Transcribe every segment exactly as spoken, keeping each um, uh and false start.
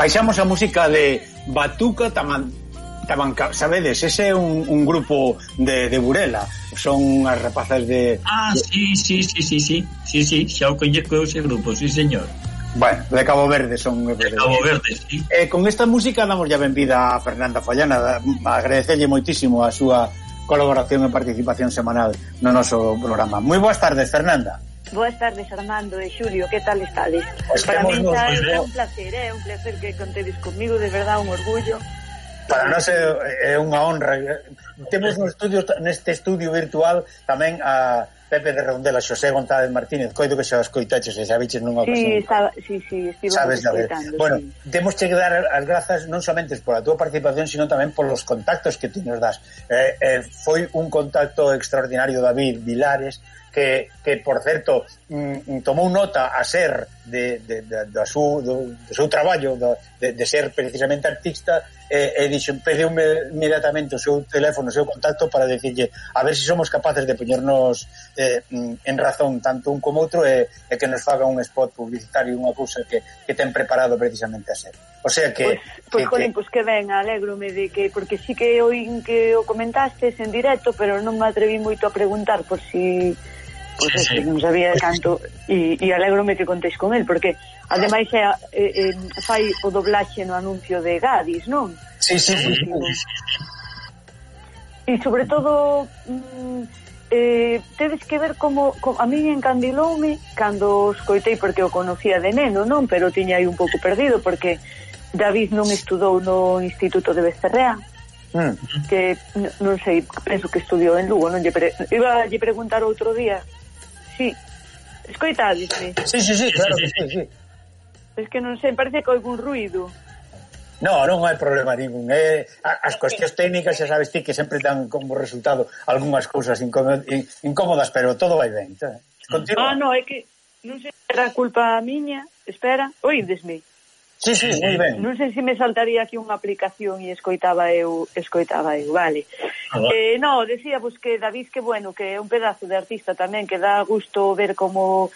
baixamos a música de Batuca Taman, Tamanca, sabedes, ese é un, un grupo de, de Burela, son as rapazas de... Ah, de... sí, sí, sí, sí, sí, sí, sí, xa o coñeco ese grupo, sí, señor. Bueno, de Cabo Verde son... De Cabo Verde, sí. Eh, con esta música damos ya benvida a Fernanda Fallana, agradecerlle moitísimo a súa colaboración e participación semanal no noso programa. Moi boas tardes, Fernanda. Boas tardes, Armando e Xulio, que tal estades? Pues para mí nos, é, pues, é un placer, é un placer que contedes comigo, de verdade, un orgullo. Para nós é, é unha honra. Temos no estudio, neste estudio virtual tamén a Pepe de Redondela, Xosé González Martínez, coido que xa os coitaches e xa viches nunha ocasión. Sí, sabe, sí, sí, estivo escoitando. Bueno, sí. Temos que dar as grazas non somente pola túa participación, sino tamén polos contactos que ti nos das. Eh, eh, foi un contacto extraordinario, David Vilares, que, que por certo mm, tomou nota a ser de, de, de, de, su, do, do seu traballo de, de ser precisamente artista e, e dixo, pediume inmediatamente o seu teléfono, o seu contacto para decirlle a ver se si somos capaces de poñernos eh, en razón tanto un como outro e, e que nos faga un spot publicitario, unha cousa que, que ten preparado precisamente a ser. O sea que... Pois, pues, pues, que, pues que ben, alégrome de que, porque sí que oín que o comentastes en directo, pero non me atreví moito a preguntar por si... Pois pues, sí, sí. Non sabía canto e, e alégrome que contéis con el, porque ademais é, eh, eh, fai o doblaxe no anuncio de Gadis, non? Sí, sí, sí, sí. E sobre todo mm, eh, tedes que ver como, como a mí encandiloume cando os coitei, porque o conocía de neno, non? Pero tiña aí un pouco perdido, porque David non estudou no Instituto de Becerrea, mm. que non sei, penso que estudiou en Lugo, non lle pre... iba a lle preguntar outro día. Sí, escoitadesme. Sí, sí, sí, claro que sí, sí. Es que non sei, parece que hai algún ruido. No, non hai problema ningún. Eh, as cuestións técnicas xa sabes ti que sempre dan como resultado algunhas cousas incómodas, pero todo vai ben. Continúa. Ah, no, é que non sei se era culpa miña. Espera, oídesme. Sí, sí, moi ben. Non sei se me saltaría aquí unha aplicación e escoitaba eu, escoitaba eu, vale. Ah, eh, no, decía pues que David, que bueno, que é un pedazo de artista tamén, que dá gusto ver como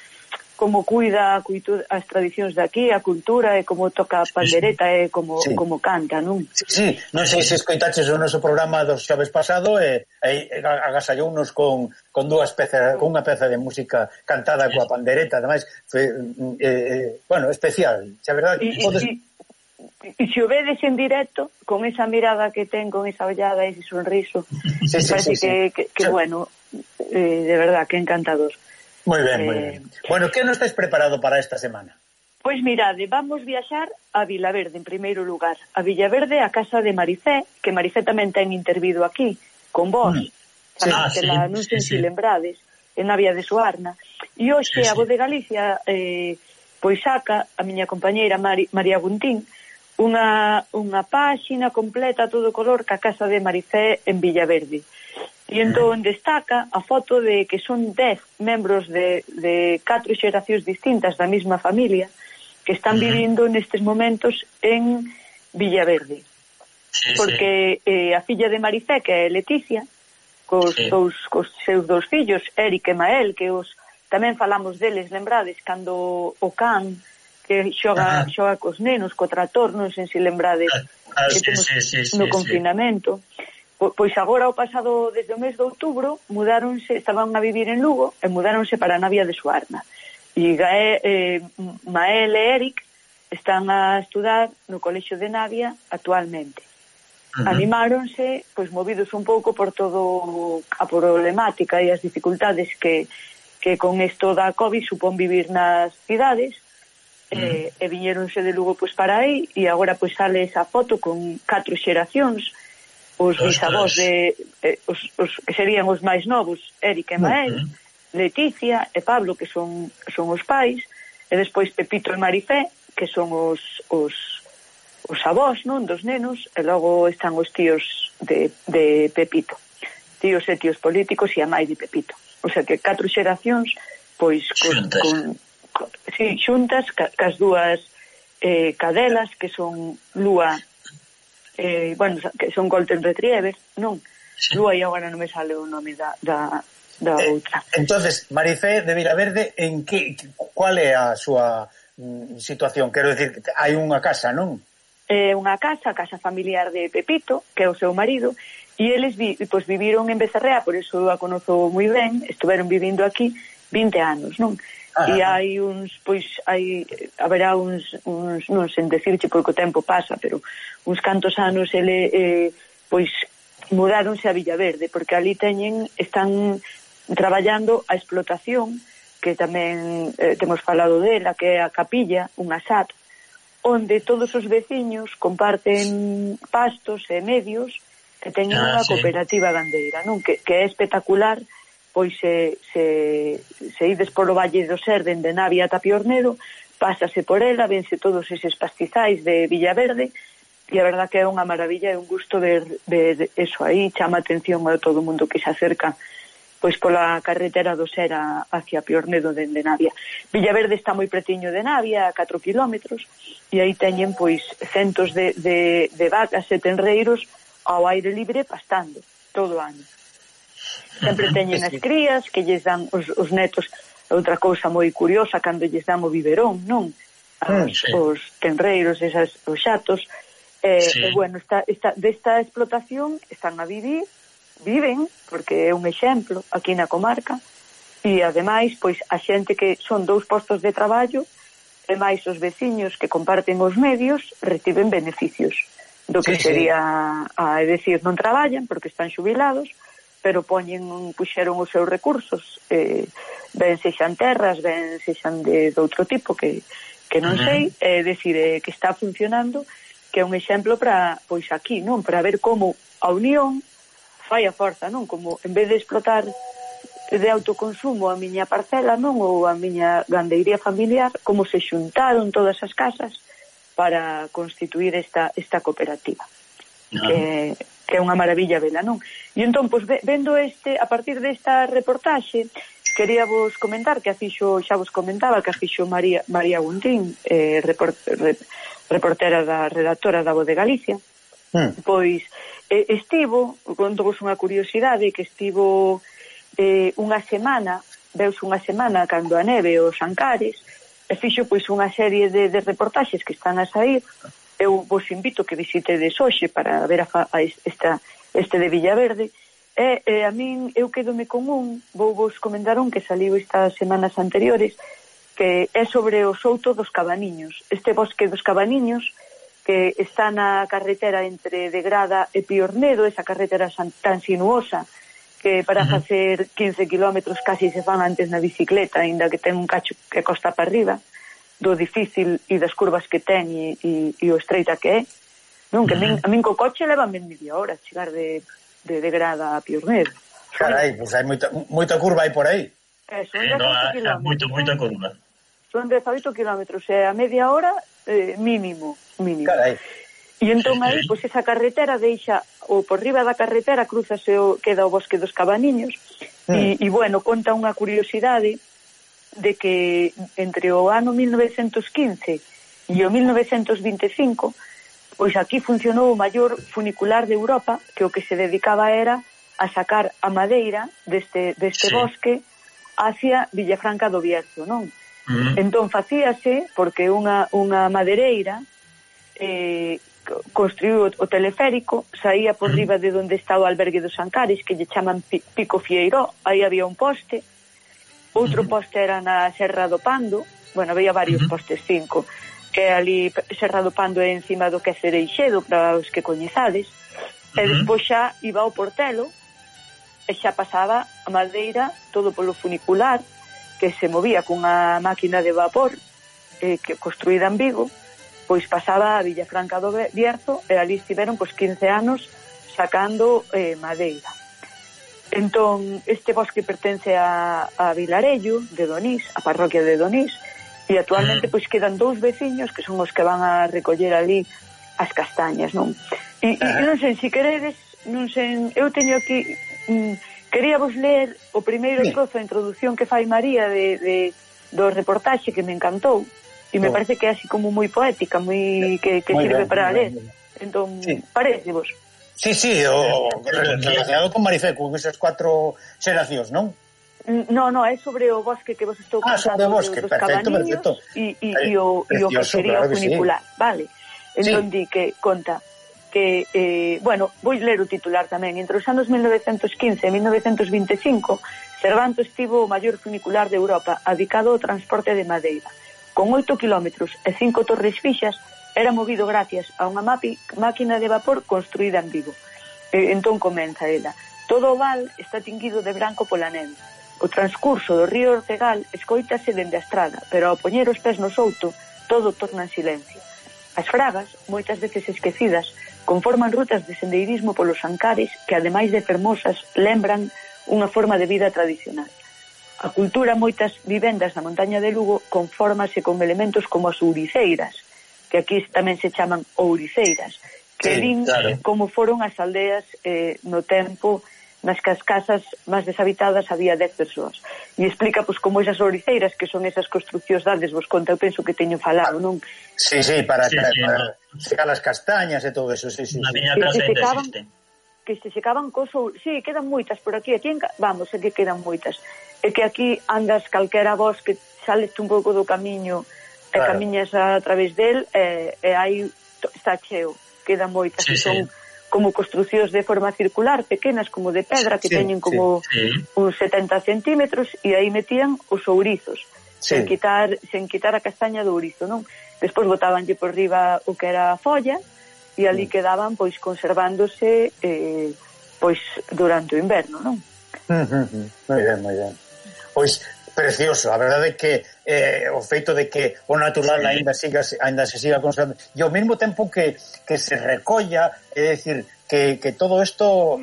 como cuida as tradicións de aquí, a cultura, e como toca a pandereta, e como, sí. como canta, non? Sí, sí, non sei se escoitaches o noso programa dos xoves pasado e, e agasallounos con, con dúas pezas, con unha peza de música cantada coa pandereta, ademais, foi, eh, eh, bueno, especial, xa verdade. E podes... si, si o vedes en directo, con esa mirada que ten, con esa ollada, ese sonriso, sí, sí, parece sí, sí. que, que, que sí. bueno, eh, de verdad, que encantador. Moi ben, moi ben. Eh, bueno, que non estáis preparado para esta semana? Pois mirade, vamos viaxar a Vilaverde, en primeiro lugar. A Villaverde, a casa de Marifé, que Marifé tamén ten intervido aquí, con vos. Mm. Sí. Ah, sí, la, non sei sí, se sí. lembrades, en Navia de Suarna. E hoxe sí, a Voz de Galicia eh, pois saca a miña compañeira Mari, María Guntín unha, unha páxina completa a todo color ca casa de Marifé en Villaverde. E entón destaca a foto de que son dez membros de, de catro xeracións distintas da mesma familia que están vivindo nestes momentos en Villaverde. Sí, porque sí. Eh, a filla de Marifé, que é Leticia, cos, sí. cos, cos seus dous fillos, Eric e Mael, que os tamén falamos deles, lembrades, cando o can que xoga, xoga cos nenos, co trator, non sei se lembrades, ah, que temos sí, sí, sí, no sí, confinamento. Sí. Pois agora, o pasado, desde o mes de outubro, mudáronse, estaban a vivir en Lugo e mudáronse para a Navia de Suarna. E Gaé, eh, Mael e Eric están a estudar no Colexio de Navia actualmente. Uh-huh. Animáronse, pois movidos un pouco por todo a problemática e as dificultades que, que con isto da COVID supón vivir nas cidades, uh-huh. eh, e viñeronse de Lugo pois para aí, e agora pois sale esa foto con catro xeracións, os bisavós de eh, os, os que serían os máis novos, Eric e Mael, uh-huh. Leticia e Pablo, que son son os pais, e despois Pepito e Marifé, que son os os os avós, non, dos nenos, e logo están os tíos de de Pepito. Tíos e tíos políticos e a mãe de Pepito. O sea que catro xeracións pois con, con, con sí, xuntas ca, cas dúas eh, cadelas que son Lúa, Eh, bueno, que son Golden Retriever, non? Sí. Lúa, e agora non me sale o nome da, da, da eh, outra. Entonces, Marifé de Vilaverde, en que, cual é a súa mm, situación? Quero decir, hai unha casa, non? é unha casa, a casa familiar de Pepito, que é o seu marido, e eles vi, pois, viviron en Becerrea, por iso a conozo moi ben, estuveron vivindo aquí vinte anos, non? Ah, e hai uns, pois, hai, haberá uns, uns non sei decirche porque o tempo pasa, pero uns cantos anos ele, eh, pois, mudáronse a Villaverde, porque ali teñen, están traballando a explotación, que tamén eh, temos falado dela, que é a capilla, unha S A T, onde todos os veciños comparten pastos e medios que teñen ah, unha sí. cooperativa gandeira, non? Que, que é espectacular. Pois se, se, se ides polo Valle do Ser dende Navia ata Piornedo, pásase por ela, vense todos eses pastizais de Villaverde, e a verdad que é unha maravilla, é un gusto ver, ver eso aí, chama atención a todo o mundo que se acerca pois pola carretera do Ser a, hacia Piornedo dende Navia. Villaverde está moi pretiño de Navia, a catro kilómetros, e aí teñen pois centos de, de, de vacas e tenreiros ao aire libre pastando todo o ano. Sempre teñen as crías que lles dan os, os netos. Outra cousa moi curiosa, cando lles dan o biberón, non? Os, sí. os tenreiros, esas, os xatos, eh, sí. e bueno, esta, esta, desta explotación están a vivir, viven, porque é un exemplo aquí na comarca, e ademais, pois, a xente que son dous postos de traballo, e máis os veciños que comparten os medios, reciben beneficios do que sí, sería, sí. a, é dicir, non traballan porque están xubilados, pero poñen, puxeron os seus recursos, eh, ben sexan terras, ben sexan de, de outro tipo, que, que non uh-huh. sei, é dicir, eh, que está funcionando, que é un exemplo para, pois aquí, non? Para ver como a unión fai a forza, non? Como, en vez de explotar de autoconsumo a miña parcela, non? Ou a miña gandeiría familiar, como se xuntaron todas as casas para constituir esta, esta cooperativa. Uh-huh. Que que é unha maravilla vela, non? E entón, pois, vendo este, a partir desta reportaxe, quería vos comentar que a fixo, xa vos comentaba, que a fixo María, María Guntín, eh, report, re, reportera da redactora da Voz de Galicia, mm. pois, eh, estivo, conto vos unha curiosidade, que estivo eh, unha semana, veus unha semana cando a neve os Ancares, e fixo, pois, unha serie de, de reportaxes que están a sair. Eu vos invito que visitedes hoxe para ver a, a esta, este de Villaverde, e, e a min, eu quedome con un, vou vos comentar un que saliu estas semanas anteriores, que é sobre o Souto dos Cabaniños, este bosque dos Cabaniños, que está na carretera entre de Grada e Piornedo, esa carretera tan sinuosa, que para uh-huh. facer quince kilómetros casi se fan antes na bicicleta, ainda que ten un cacho que costa para arriba, do difícil e das curvas que ten e, e, e o estreita que é, non? Que a min, a min co coche leva media hora chegar de, de, de Grada a Piornedo. Carai, pois pues hai moita, moita curva aí por aí. Eh, son eh, no, é moito, moita curva. Son dezaoito kilómetros, e a media hora eh, mínimo, mínimo. Carai. E entón aí, pois, pues, esa carretera deixa, ou por riba da carretera cruzase o, queda o Bosque dos Cabaniños, mm. e, e bueno, conta unha curiosidade de que entre o ano mil novecentos quince e o mil novecentos vinte e cinco, pois aquí funcionou o maior funicular de Europa, que o que se dedicaba era a sacar a madeira deste, deste sí. bosque hacia Villafranca do Bierzo, non? Uh-huh. Entón facíase porque unha, unha madereira eh, construiu o teleférico, saía por uh-huh. riba de onde está o albergue dos Ancares, que lle chaman Pico Fieiró, aí había un poste. Outro poste era na Serra do Pando, bueno, había varios uh-huh. postes, cinco, que ali Serra do Pando é encima do que é Cereixedo, para os que coñezades, uh-huh. e despois xa iba ao Portelo, e xa pasaba a madeira todo polo funicular, que se movía cunha máquina de vapor, eh, que construída en Vigo, pois pasaba a Villafranca do Bierzo, e ali estiveron pois quince anos sacando eh, madeira. Entón, este bosque pertence a, a Vilarello de Donís, a parroquia de Donís, e actualmente pois quedan dous veciños que son os que van a recoller ali as castañas, non? E, e non sei, se queredes, non sei, eu teño aquí, mm, quería vos ler o primeiro trozo de introducción que fai María de, de, do reportaxe que me encantou, e me oh. parece que é así como moi poética, moi que, que muy sirve bien, para ler. Entón, sí. parece vos? Sí, sí, o relacionado con Marifé, con esas cuatro xeracións, non? No, no, é sobre o bosque que vos estou contando. Ah, sobre o bosque, perfecto, perfecto. E, e, e, o, e o que sería claro o funicular, sí. Vale. entón di que conta que, eh, bueno, vou ler o titular tamén. Entre os anos mil novecentos quince e mil novecentos vinte e cinco, Cervanto estivo o maior funicular de Europa adicado ao transporte de madeira. Con oito kilómetros e cinco torres fixas, era movido gracias a unha máquina de vapor construída en Vigo. E, entón comeza ela. Todo o val está tinguido de branco pola neve. O transcurso do río Ortegal escoítase dende a estrada, pero ao poñer os pés no souto, todo torna en silencio. As fragas, moitas veces esquecidas, conforman rutas de sendeirismo polos Ancares que, ademais de fermosas, lembran unha forma de vida tradicional. A cultura, moitas vivendas na montaña de Lugo, confórmase con elementos como as ouriceiras, que aquí tamén se chaman ouriceiras, que sí, din claro. Como foron as aldeas eh, no tempo nas que as casas máis deshabitadas había dez persoas. E explica pois como esas ouriceiras, que son esas construccións dades, vos conta, eu penso que teño falado, non? Sí, sí, para, sí, para, sí, para no. secar as castañas e todo eso, sí, sí. Na sí. miña casa ainda existe. Que se secaban cosas, sí, quedan moitas por aquí, aquí en, vamos, é que quedan moitas. É que aquí andas calquera bosque, sales un pouco do camiño e claro. Camiñas a través del e, e aí está cheo, quedan moitas, sí, que son sí. Como construcións de forma circular, pequenas como de pedra, que sí, teñen como sí, sí. uns setenta centímetros, e aí metían os ourizos, sí. sen quitar sen quitar a castaña do ourizo, non? Despois botabanlle por riba o que era a folla, e ali sí. Quedaban pois conservándose eh, pois durante o inverno, non? Moi ben, moi ben. Pois precioso, a verdade é que eh, o feito de que o natural sí. ainda, siga, ainda se siga conservando e ao mesmo tempo que, que se recolla, é dicir, que, que todo isto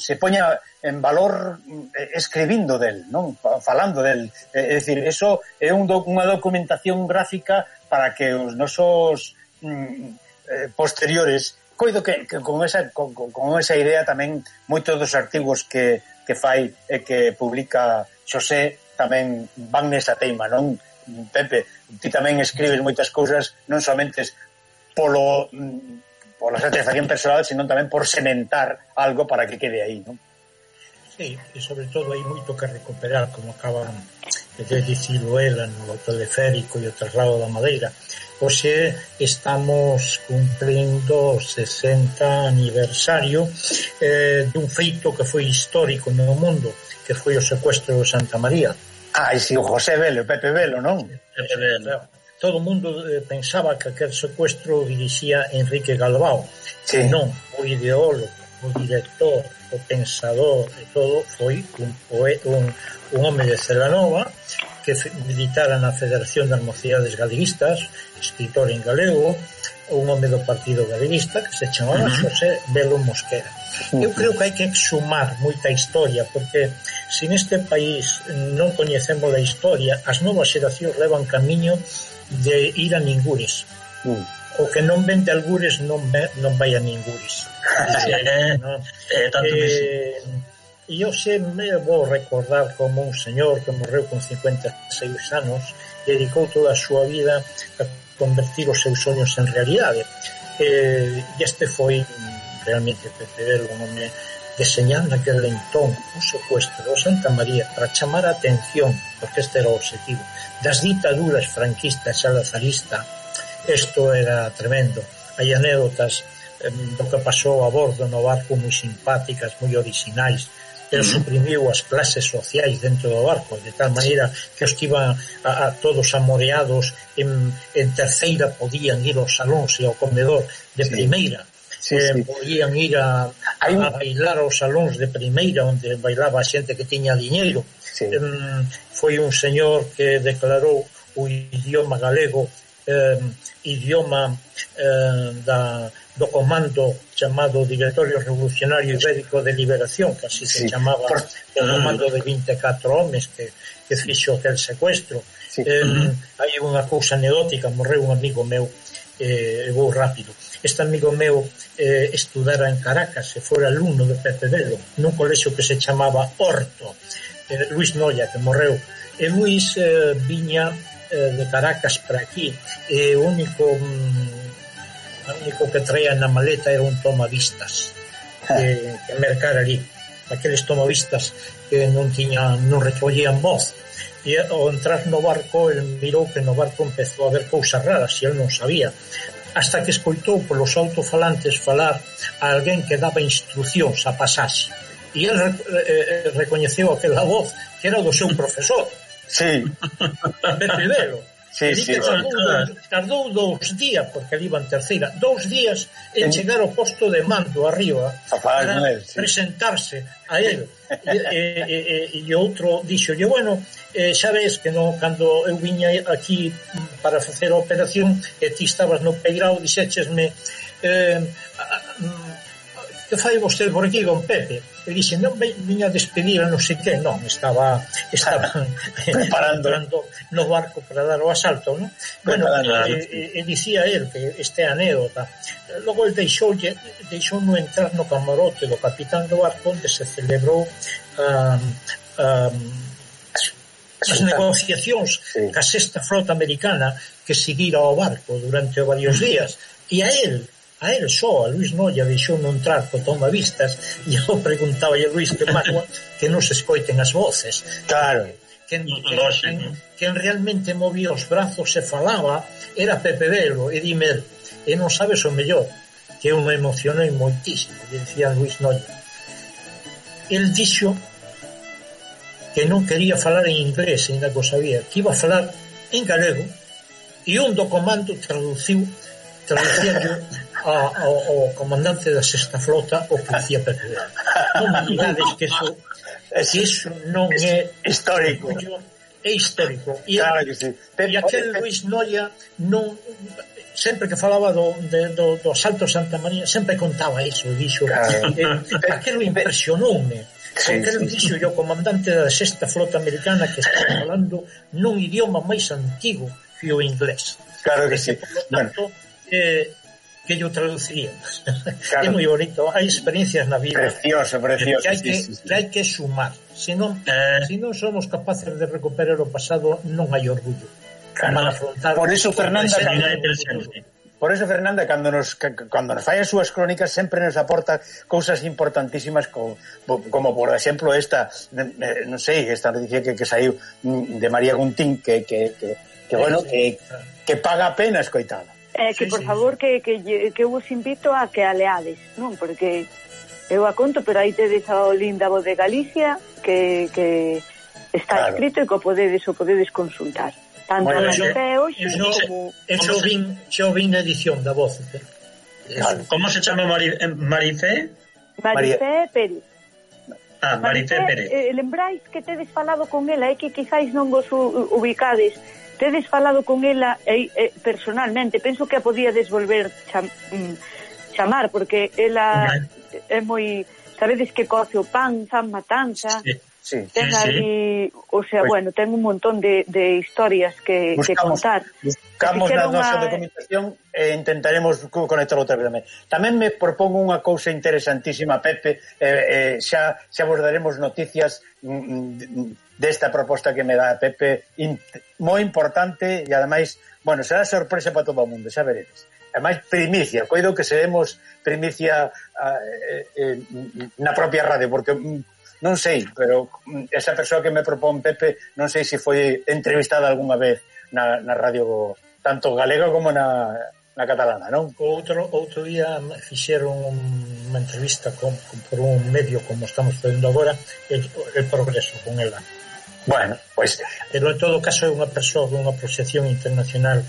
se poña en valor eh, escribindo del, non? Falando del, é dicir, eso é un do, unha documentación gráfica para que os nosos mm, eh, posteriores, coido que, que con, esa, con, con esa idea tamén moitos dos artigos que, que fai e que publica Xosé tamén van nesa teima, non? Pepe, ti tamén escribes moitas cousas non somente polo pola satisfacción personal, sino tamén por sementar algo para que quede aí, non? Sí, e sobre todo hai moito que recuperar, como acaban de dicirlo ela no teleférico e o traslado da madeira. Hoxe estamos cumprindo o sesenta aniversario eh, dun feito que foi histórico no mundo, que foi o secuestro de Santa María. Ah, e si o José Velo, o Pepe Velo, non? Pepe Velo. Todo o mundo eh, pensaba que aquel secuestro dirixía Enrique Galbao. Sí. Non, o ideólogo, o director, o pensador e todo foi un, poeta, un, un home de Celanova que militara na Federación das Mocidades Galeguistas, escritor en galego, un home do Partido Galeguista que se chamaba uh-huh. Xosé Velo Mosquera. Eu creo que hai que exhumar moita historia, porque se neste país non coñecemos a historia, as novas xeracións levan camiño de ir a ningures. Uh. O que non ven de algures non, ve, non vai a ningures. eh, no? eh, tanto que sí. E eu se me vou recordar como un señor que morreu con cincuenta e seis anos, dedicou toda a súa vida a convertir os seus soños en realidade. E este foi realmente Pepe Velo, un home deseñando aquel entón un secuestro de Santa María para chamar a atención, porque este era o objetivo, das ditaduras franquista e salazarista. Isto era tremendo. Hai anécdotas eh, do que pasou a bordo no barco moi simpáticas, moi orixinais. Pero suprimiu as clases sociais dentro do barco, de tal maneira que os que iban a, a todos amoreados en, en terceira podían ir aos salóns e ao comedor de sí. primeira. Sí, eh, sí. Podían ir a, a, a bailar aos salóns de primeira, onde bailaba a xente que tiña diñeiro. Sí. Eh, foi un señor que declarou o idioma galego eh, idioma eh, da, do comando chamado Directorio Revolucionario Ibérico de Liberación, que así sí. se chamaba Por... o comando de vinte e catro homes que, que fixo aquel secuestro. Sí. Eh, uh-huh. Hai unha cousa anecdótica, morreu un amigo meu, eh, vou rápido. Este amigo meu eh, estudara en Caracas e fora alumno de Pepe Velo nun colexio que se chamaba Horto, eh, Luis Noia, que morreu. E Luis eh, viña de Caracas para aquí e o único o único que traía na maleta era un tomavistas que, que mercar ali, aqueles tomavistas que non tiñan, non recollían voz, e ao entrar no barco el mirou que no barco empezou a haber cousas raras e el non sabía, hasta que escoitou polos autofalantes falar a alguén que daba instruccións a pasaxe. E ele eh, recoñeceu aquela voz que era do seu profesor. Sí. Pepe Velo. Sí, sí, tardou, sí. tardou dous días, porque ali iba en terceira, dous días en chegar ao posto de mando arriba para él, sí. presentarse a él. E, e, e, e outro dixo, bueno, eh, xa ves que no, cando eu viña aquí para facer a operación e ti estabas no peirao, dixéchesme eh, que fai vostede por aquí, don Pepe? E dixe, non viña a despedir a non sei que, non, estaba estaba preparando no barco para dar o asalto, non? Bueno, e, e, e dicía él que este anécdota, logo el deixou deixou no entrar no camarote do capitán do barco onde se celebrou um, um, as negociacións sí. ca sexta flota americana que seguira ao barco durante varios días, e a él a él só, a Luis Noia deixou non entrar co tomavistas e eu preguntaba a Luis que mágoa que non se escoiten as voces. Claro. Quen, quen, quen realmente movía os brazos e falaba era Pepe Velo, e dime, e non sabes o mellor, que eu me emocionei moitísimo, e dicía Luis Noia. El dixo que non quería falar en inglés, ainda que o sabía, que iba a falar en galego, e un do comando traduciu traduciendo ao, ao comandante da sexta flota o que dicía Pepe Velo. Non me digades que eso que eso non é histórico, é histórico. E, claro que sí. E aquel Luis Noia non, sempre que falaba do, de, do, do asalto a Santa María sempre contaba iso, dixo claro. eh, aquilo impresionoume. Sí, porque el dixo sí, o comandante da sexta flota americana que está falando nun idioma máis antigo que o inglés. Claro que sí. Por lo tanto, bueno. Eh, que yo traduciría. Claro. É moi bonito, hai experiencias na vida. Precioso, precioso. Que hai que, sí, sí, sí. que, hai que sumar. Se non, eh. si non somos capaces de recuperar o pasado, non hai orgullo. Claro. Para afrontar. Por eso, Fernanda, por eso, Fernanda, cando nos, cando nos fai as súas crónicas, sempre nos aporta cousas importantísimas como, como por exemplo, esta, non sei, esta noticia que, que saiu de María Guntín, que, que, que, que bueno, que, que paga a pena escoitada. Eh, que, sí, por sí, favor, que, que, que eu vos invito a que a leades, non? Porque eu a conto, pero aí tedes a linda voz de Galicia que, que está claro. escrito e que o podedes, o podedes consultar. Tanto bueno, na P hoxe como... Eso vin, xo vin na edición da voz. Eh? Claro. Como se chama Mari, Marifé? Marifé Pérez. Ah, Marifé Pérez. Eh, lembráis que tedes falado con ela e que quizáis non vos ubicades. Tedes falado con ela eh, eh, personalmente, penso que a podíades volver cham, mm, chamar, porque ela é moi, sabedes que coce o pan, fan matanza, sí, sí, ten sí, ali, o sea, pues, bueno, ten un montón de, de historias que, buscamos, que contar. Buscamos na nosa una... documentación e intentaremos conectar outra vez tamén. Tamén me propongo unha cousa interesantísima, Pepe, eh, eh, xa, xa vos daremos noticias mm, desta proposta que me dá Pepe, in, moi importante e ademais, bueno, será sorpresa para todo o mundo, xa veredes. Ademais, primicia, coido que seremos primicia eh, eh, na propia radio, porque non sei, pero esa persoa que me propón Pepe, non sei se foi entrevistada algunha vez na, na radio tanto galega como na, na catalana, non? Outro, outro día fixeron unha entrevista con, con, por un medio como estamos facendo agora, el, el progreso con ela. Bueno, pois... Pues, pero en todo caso é unha persoa con unha proxección internacional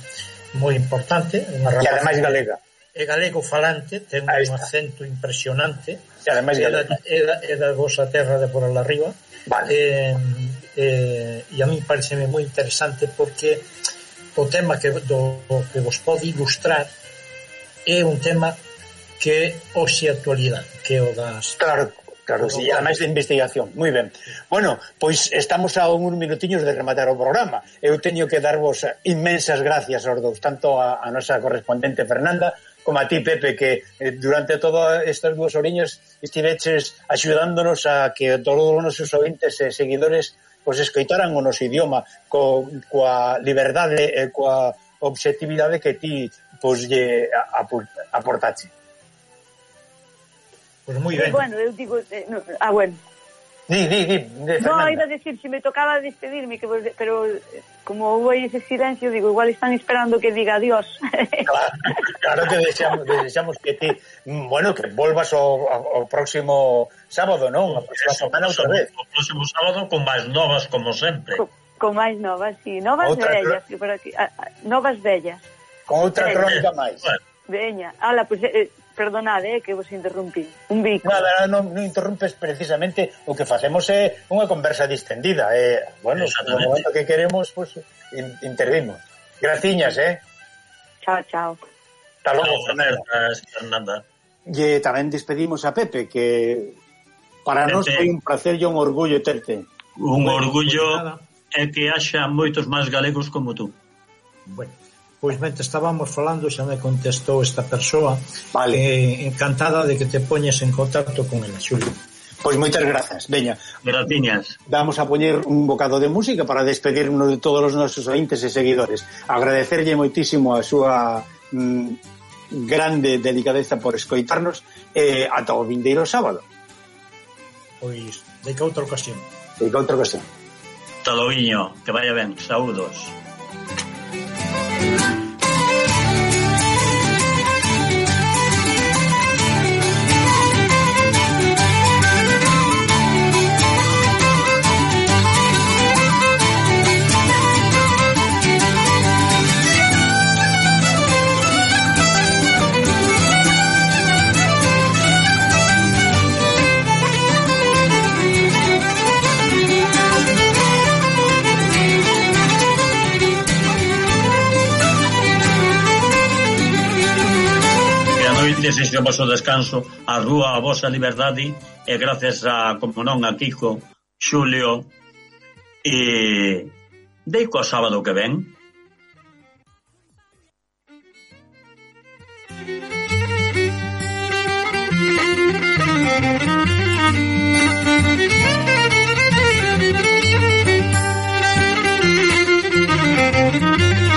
moi importante, unha e ademais galega. É galego falante, ten un acento impresionante, e ademais galega. É da, é da vosa terra de por ala arriba. Vale. Eh, eh, e a mí pareceme moi interesante porque o tema que, do, que vos pode ilustrar é un tema que hoxe actualidade, que é o das... Claro. Claro, sí, ademais de investigación. Moi ben. Bueno, pois estamos a uns minutiños de rematar o programa. Eu teño que darvos inmensas gracias aos dous, tanto a, a nosa correspondente Fernanda como a ti, Pepe, que eh, durante todas estas dúas oriñas estiveches axudándonos a que todos os nosos ouvintes e seguidores pois escoitaran o noso idioma co, coa liberdade e coa objetividade que ti pois lle aportache. Pues moi ben. Bueno, eu digo... Eh, no, ah, bueno. Di, di, di, de No, Fernanda. iba a decir, si me tocaba despedirme, que vos- pero eh, como hubo aí ese silencio, digo, igual están esperando que diga adiós. Claro, claro que deseamos, deseamos que ti, mm, bueno, que volvas o, o próximo sábado, non? A próxima semana outra vez. O próximo sábado con máis novas, como sempre. con, con máis novas, sí, novas Outra vellas, que por aquí, ah, ah, novas vellas. Con outra Eh, crónica máis. Bueno, Veña, ala, pues, eh, perdonade, eh, que vos interrumpí. Un bico. Nada, non, non interrumpes precisamente o que facemos é unha conversa distendida. Eh, bueno, no Exactamente. momento que queremos, pues, in, intervimos. Graciñas, eh? Chao, chao. Hasta logo, Chao, Fernanda. Fernanda, Fernanda. E tamén despedimos a Pepe, que para Pepe. nós foi un placer e un orgullo terte. Un Bueno, orgullo pues nada. é que haxa moitos máis galegos como tú. Bueno, pois mentre estábamos falando xa me contestou esta persoa, Vale. eh, encantada de que te poñes en contacto con ela, Xulio. Pois moitas grazas. Veña, Graciñas. vamos a poñer un bocado de música para despedirnos de todos os nosos ointes e seguidores. Agradecerlle moitísimo a súa mm, grande delicadeza por escoitarnos e eh, ata o vindeiro sábado. Pois, de que outra ocasión. E que outra cuestión. Taloiño, que vaya ben. Saúdos. Desexo vos o descanso, a rúa a vosa liberdade e gracias a, como non, a Kiko, Xulio e deico a sábado que ven. Thank you.